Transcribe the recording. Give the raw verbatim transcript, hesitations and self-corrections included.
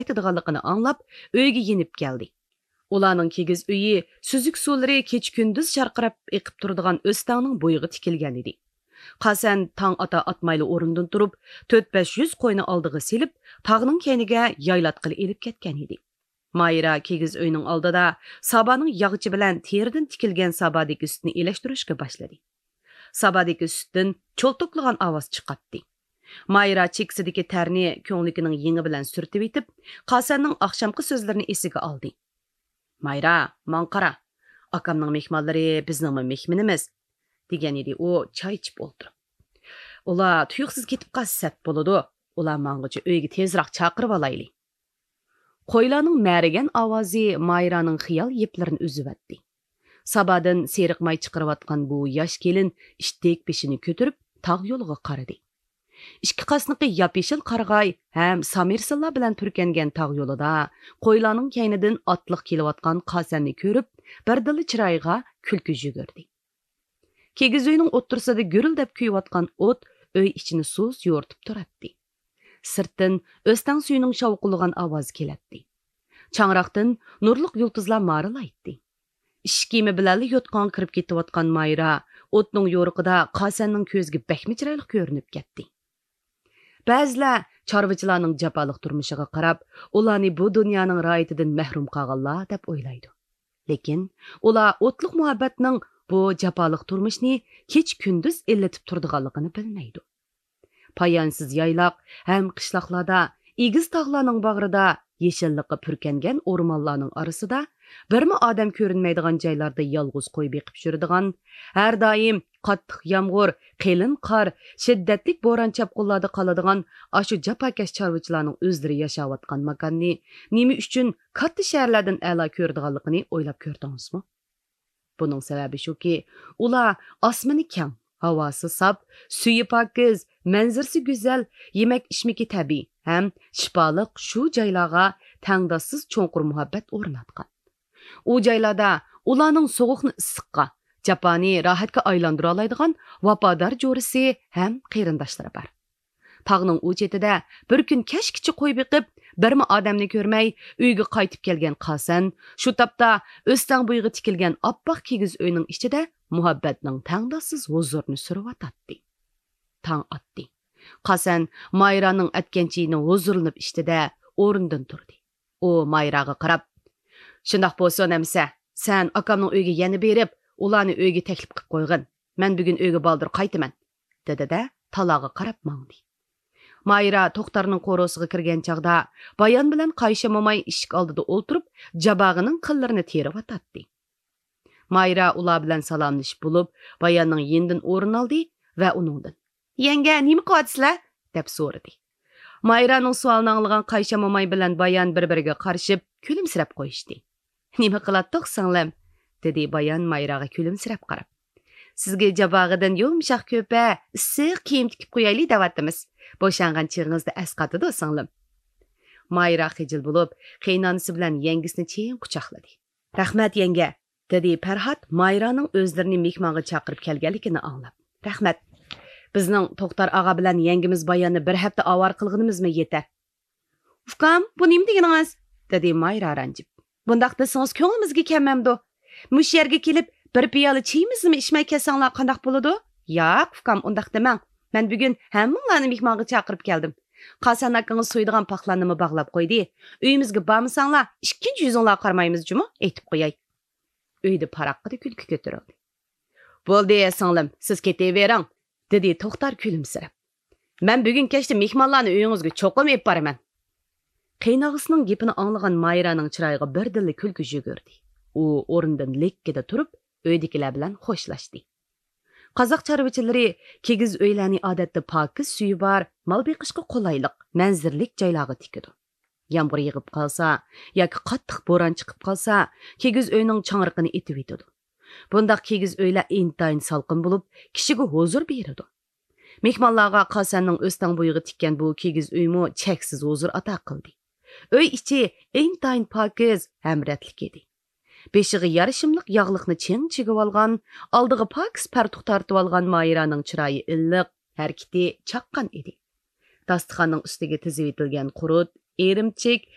قايتىدىغانلىقىنى ئاڭلاپ، ئۆيگە يېنىپ كەلدى. ئۇلارنىڭ كىگىز ئۆيى سۈزۈك سۇلىرى كېچە-كۈندۈز چارقىراپ ئېقىپ تۇرىدىغان ئۆستەڭنىڭ بويىغا تىكىلگەن ئىدى. قاسەن تاڭ ئاتا-ئاتمايلا ئورنىدىن تۇرۇپ، تۆت-بەش يۈز قوينى ئالدىغا سېلىپ، تاغنىڭ كەينىگە يايلاتقىلى ئېلىپ كەتكەن ئىدى. مايرا كىگىز ئۆينىڭ ئالدىدا سابانىڭ ياغىچى بىلەن تېرىدىن تىكىلگەن سابادىكى سۈتنى ئېلەشتۈرۈشكە باشلىدى. سابادىكى سۈتتىن چولتۇقلىغان ئاۋاز چىقاتتى. مايرا چېكىسىدىكى تەرنى كۆڭلىكىنىڭ يېڭى بىلەن سۈرتۈۋېتىپ، قاسەننىڭ ئاخشامقى سۆزلىرىنى ئېسىگە ئالدى. «مايرا، ماڭا قارا. ئاكامنىڭ مېھمانلىرى بىزنىڭمۇ مېھمىنىمىز»، دېگەن ئىدى ئۇ چاي ئىچىپ ئولتۇرۇپ. «ئۇلار تۇيۇقسىز كېتىپ قالسا سەت بولىدۇ. ئۇلار ماڭغۇچە ئۆيگە تېزراق چاقىرىۋالايلى.» قويلارنىڭ مەرىگەن ئاۋازى مايرانىڭ خىيال يىپلىرىنى ئۈزۈۋەتتى. سابادىن سېرىق ماي چىقىرىۋاتقان بۇ ياش كېلىن ئىتتىك بېشىنى كۆتۈرۈپ، تاغ يولىغا قارىدى. ئىككى قاسنىقى ياپيېشىل قارىغاي ھەم سامىرسىللار بىلەن پۈركەنگەن تاغ يولىدا قويلارنىڭ كەينىدىن ئاتلىق كېلىۋاتقان قاسەننى كۆرۈپ، بىردىنلا چىرايىغا كۈلكە يۈگۈردى. كىگىز ئۆينىڭ ئوتتۇرىسىدا گۈرۈلدەپ كۆيۈۋاتقان ئوت ئۆي ئىچىنى سۇس يورۇتۇپ تۇراتتى. سىرتتىن ئۆستەڭ سۈيىنىڭ شاۋقۇلىغان ئاۋازى كېلەتتى. چاڭراقتىن نۇرلۇق يۇلتۇزلار مارىلايتتى. ئىشىك كىيىمى بىلەنلا يوتقانغا كىرىپ كېتىۋاتقان مايرا ئوتنىڭ يورۇقىدا قاسەننىڭ كۆزىگە بەكمۇ چىرايلىق كۆرۈنۈپ كەتتى. بەزىلەر چارۋىچىلارنىڭ جاپالىق تۇرمۇشىغا قاراپ، ئۇلارنى بۇ دۇنيانىڭ راھىتىدىن مەھرۇم قالغانلار دەپ ئويلايدۇ. لېكىن ئۇلار ئوتلۇق مۇھەببەتنىڭ بۇ جاپالىق تۇرمۇشنى كېچە-كۈندۈز ئىللىتىپ تۇرىدىغانلىقىنى بىلمەيدۇ. پايانسىز يايلاق ھەم قىشلاقلاردا، ئېگىز تاغلارنىڭ باغرىدا، يېشىللىققا پۈركەنگەن ئورمانلارنىڭ ئارىسىدا، بىرمۇ ئادەم كۆرۈنمەيدىغان جايلاردا يالغۇز قوي بېقىپ يۈرىدىغان، ھەر دائىم قاتتىق يامغۇر، قېلىن قار، شىددەتلىك بوران-چاپقۇنلاردا قالىدىغان ئاشۇ جاپاكەش چارۋىچىلارنىڭ ئۆزلىرى ياشاۋاتقان ماكاننى نېمە ئۈچۈن كاتتا شەھەرلەردىن ئەلا كۆرىدىغانلىقىنى ئويلاپ كۆردىڭىزمۇ؟ بۇنىڭ سەۋەبى شۇكى، ئۇلار ئاسمىنى كەڭ، ھاۋاسى ساپ، سۈيى پاكىز، مەنزىرىسى گۈزەل، يېمەك-ئىچمىكى تەبىئىي ھەم شىپالىق شۇ جايلارغا تەڭداشسىز چوڭقۇر مۇھەببەت ئورناتقان. ئۇ جايلاردا ئۇلارنىڭ سوغۇقنى ئىسسىققا، جاپانى راھەتكە ئايلاندۇرالايدىغان ۋاپادار جورىسى ھەم قېرىنداشلىرى بار. تاغنىڭ ئۇ چېتىدە بىر كۈن كەچكىچە قوي بېقىپ، بىرمۇ ئادەمنى كۆرمەي، ئۆيگە قايتىپ كەلگەن قاسەن شۇ تاپتا ئۆستەڭ بويىغا تىكىلگەن ئاپئاق كىگىز ئۆينىڭ ئىچىدە مۇھەببەتنىڭ تەڭداشسىز ھۇزۇرىنى سۈرۈۋاتاتتى. تاڭ ئاتتى. قاسەن مايرانىڭ ئەتكەن چېيىنى ھۇزۇرلىنىپ ئىچتى-دە، ئورنىدىن تۇردى. ئۇ مايراغا قاراپ، «شۇنداق بولسۇن ئەمىسە، سەن ئاكامنىڭ ئۆيىگە يەنە بېرىپ، ئۇلارنى ئۆيگە تەكلىپ قىلىپ قويغىن. مەن بۈگۈن ئۆيگە بالدۇر قايتىمەن.» دېدى-دە، تالاغا قاراپ ماڭدى. مايرا توختارنىڭ قورۇسىغا كىرگەن چاغدا، بايان بىلەن قايشا موماي ئىشىك ئالدىدا ئولتۇرۇپ، جاباغىنىڭ قىللىرىنى تېرىۋاتاتتى. مايرا ئۇلار بىلەن سالاملىشىپ بولۇپ، باياننىڭ يېنىدىن ئورۇن ئالدى ۋە ئۇنىڭدىن، «يەڭگە، نېمە قىلىۋاتىسىلەر؟» دەپ سورىدى. مايرانىڭ سوئالىنى ئاڭلىغان قايشا موماي بىلەن بايان بىر-بىرىگە قارىشىپ، كۈلۈمسىرەپ قويۇشتى. «نېمە قىلاتتۇق، سىڭلىم؟» دېدى بايان مايراغا كۈلۈمسىرەپ قاراپ. «سىزگە جاباغىدىن يۇمشاق كۆپە، ئىسسىق كىيىم تىكىپ قويايلى دەۋاتىمىز. بوشانغان چېغىڭىزدا ئەسقاتىدۇ، سىڭلىم.» مايرا خىجىل بولۇپ، قېيىنئانىسى بىلەن يەڭگىسىنى چىڭ قۇچاقلىدى. «رەھمەت، يەڭگە.» دېدى پەرھات مايرانىڭ ئۆزلىرىنى مېھمانغا چاقىرىپ كەلگەنلىكىنى ئاڭلاپ. «رەھمەت. بىزنىڭ توختار ئاغا بىلەن يەڭگىمىز باياننى بىر ھەپتە ئاۋارە قىلغىنىمىزمۇ يېتەر.» «ئۇكام، بۇ نېمە دېگىنىڭىز؟» دېدى مايرا رەنجىپ. «بۇنداق دېسىڭىز كۆڭلىمىزگە كەلمەمدۇ؟ مۇشۇ يەرگە كېلىپ، بىر پىيالە چېيىمىزنىمۇ ئىچمەي كەتسەڭلار قانداق بولىدۇ؟» «ياق، ئۇكام، ئۇنداق دېمەڭ. مەن بۈگۈن ھەممىڭلارنى مېھمانغا چاقىرىپ كەلدىم. قاسەن ئاكىڭىز سويىدىغان پاقلارنىمۇ باغلاپ قويدى. ئۆيىمىزگە بارمىساڭلار، ئىككىنچى يۈزۈڭلارغا قارىمايمىز جۇمۇ، ئېيتىپ قوياي.» ئۆيدە پاراققىدە كۈلكە كۆتۈرۈلدى. «بولدى، سىڭلىم، سىز كېتىۋېرىڭ.» دېدى توختار كۈلۈمسىرەپ. «مەن بۈگۈن كەچتە مېھمانلارنى ئۆيىڭىزگە چوقۇم ئېلىپ بارىمەن.» قېيىنئاغىسىنىڭ گېپىنى ئاڭلىغان مايرانىڭ چىرايىغا بىردىنلا كۈلكە يۈگۈردى. ئۇ ئورنىدىن لىككىدە تۇرۇپ، ئۆيدىكىلەر بىلەن خوشلاشتى. قازاق چارۋىچىلىرى كىگىز ئۆيلەرنى ئادەتتە پاكىز سۈيى بار، مال بېقىشقا قولايلىق، مەنزىرىلىك جايلارغا تىكىدۇ. يامغۇر يېغىپ قالسا ياكى قاتتىق بوران چىقىپ قالسا، كىگىز ئۆينىڭ چاڭرىقىنى ئېتىۋېتىدۇ. بۇنداق كىگىز ئۆيلەر ئىنتايىن سالقىن بولۇپ، كىشىگە ھۇزۇر بېرىدۇ. مېھمانلارغا قاسەننىڭ ئۆستەڭ بويىغا تىككەن بۇ كىگىز ئۆيمۇ چەكسىز ھۇزۇر ئاتا قىلدى. ئۆي ئىچى ئىنتايىن پاكىز ھەم رەتلىك ئىدى. بېشىغا يارىشىملىق ياغلىقنى چىڭ چىگىۋالغان، ئالدىغا پاكىز پەرتۇق تارتىۋالغان مايرانىڭ چىرايى ئىللىق، ھەرىكىتى چاققان ئىدى. داستىخاننىڭ ئۈستىگە تىزىۋېتىلگەن قۇرۇت، ئىرىمچىك،